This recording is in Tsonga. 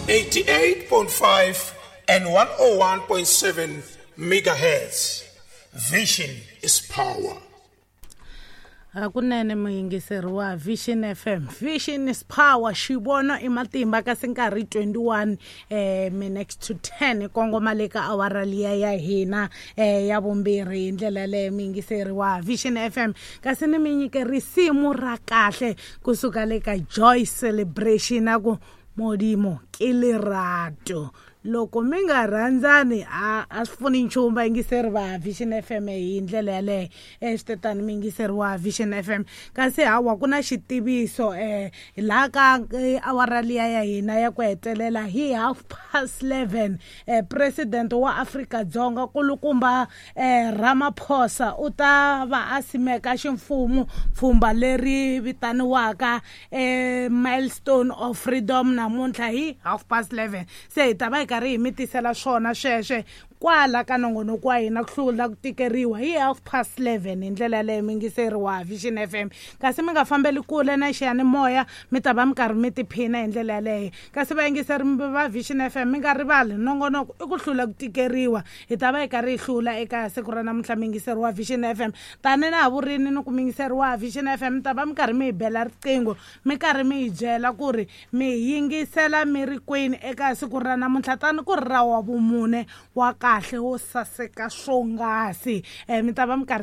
88.5 and 101.7 megahertz. Vision is power. Hakunene muyingiseri wa Vision FM, Vision is power, xivono i matimba. Kasi nkarhi 21 minutes to 10, kongoma le ka awara liya ya hina ya vumbirhi. Hi ndlela yaleyo, muyingiseri wa Vision FM, kasi ni mi nyike risimu ra kahle kusuka le ka Joy Celebration a ku "Modimo ke lerato". Loko mi nga rhandzani, a swi pfuni nchumu, vayingiseri va Vision FM. Hi ndlela yaleyo, swi tetani, muyingiseri wa Vision FM. Kasi hawa, ku na xitiviso laha ka awara liya ya hina ya ku hetelela hi 11:30, president wa Afrika-Dzonga, kulukumba Ramaphosa, u ta va a simeka ximfumo pfhumba leri vitaniwaka Milestone of Freedom namuntlha hi 11:30. Se hi ta va hi karhi hi mi tisela swona sweswe kwala ka nongonoko wa hina Ku Hlula Ku Tikeriwa hi 11:30. Hi ndlela yaleyo, muyingiseri wa Vision FM, kasi mi nga fambeli kule na xiyanimoya, mi ta va mi karhi mi tiphina hi ndlela yaleyo. Kasi vayingiseri va Vision FM, mi nga rivali, nongonoko i Ku Hlula Ku Tikeriwa. Hi ta va hi karhi hi hlula eka siku ra namuntlha, muyingiseri wa Vision FM. Tani na ha vurini ni ku, muyingiseri wa Vision FM, mi ta va mi karhi mi hi bela riqingho, mi karhi mi hi byela ku ri mi yingisela mi ri kwini eka siku ra namuntlha, tani ku ri ra wa vumune wa kahle wo saseka swonghasi. Mi ta va mi karhi